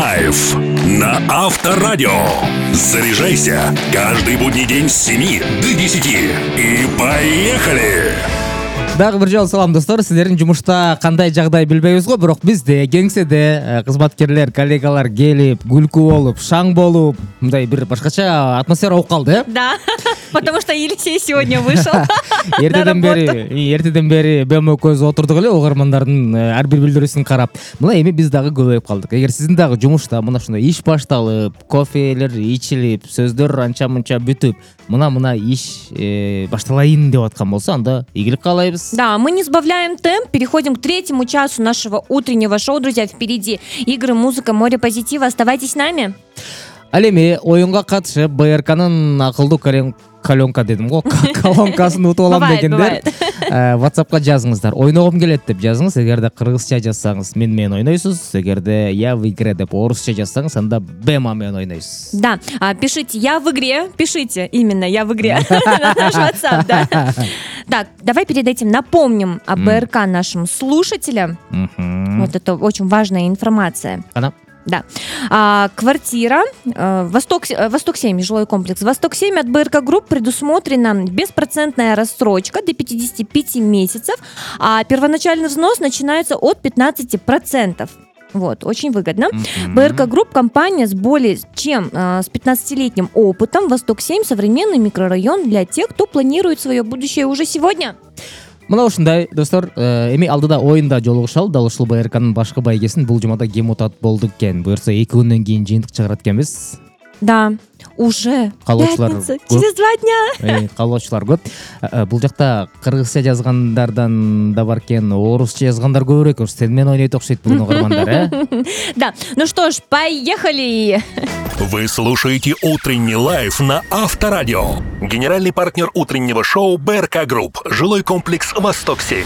Лайф на Авторадио. Заряжайся каждый будний день с 7 до 10. И поехали! Дагы бир жолу салам достор. Силердин жумушта кандай жагдай билбейбиз го, бирок бизде кеңседе кызматкерлер, коллегалар келип, күлкү болуп, шаң болуп, мындай бир башкача атмосфера болуп калды, э? Да, потому что Елисей сегодня вышел. Эртеден бери БМКөз отурдук эле угармандардын ар бир билдирүүсүн карап. Мына эми биз дагы көбөйүп калдык. Эгер сиздин дагы жумушта мына ушундай иш башталып, кофелер ичилип, сөздөр анча-мынча бүтүп, мына иш башталайын деп аткан болсо, анда ийгилик каалайбыз. Да, мы не сбавляем темп, переходим к третьему часу нашего утреннего шоу. Друзья, впереди игры, музыка, море позитива. Оставайтесь с нами. Ал эми оюнга катышып, БРКнын акылдуу колонка дедим го, колонкасын утуп алам дегендер WhatsAppка жазыңыздар. Ойногум келет деп жазыңыз. Эгерде кыргызча жазсаңыз менен ойнойсуз. Эгерде я в игре деп орусча жазсаңыз, анда Бема менен ойнойсуз. Да, пишите «Я в игре», пишите именно «Я в игре» на наш WhatsApp, да. Так, давай перед этим напомним о БРК нашим слушателям. Вот это очень важная информация. Да. Квартира Восток-7, жилой комплекс Восток-7 от БРК Групп предусмотрена беспроцентная рассрочка до 55 месяцев, а первоначальный взнос начинается от 15%. Вот, очень выгодно. БРК Групп — компания с более чем с 15-летним опытом. Восток-7 — современный микрорайон для тех, кто планирует свое будущее уже сегодня. Мына ушундай достор, эми алдыда оюнда жолугушалы. Дал ушул БРКнын башкы байгесин бул жумада кем утат болдук экен. Буюрса 2 күндөн кийин жыйынтык чыгарат экенбиз. Да, уже пятница, через 2 дня. Каалоочулар көп. Бул жакта кыргызча жазгандардан да бар экен, орусча жазгандар көбүрөөк. Сен менен ойнойт окшойт бүгүн угармандар, э? Да, ну что ж, поехали! Вы слушаете «Утренний лайф» на Авторадио. Генеральный партнер утреннего шоу БРК Групп. Жилой комплекс «Восток-7».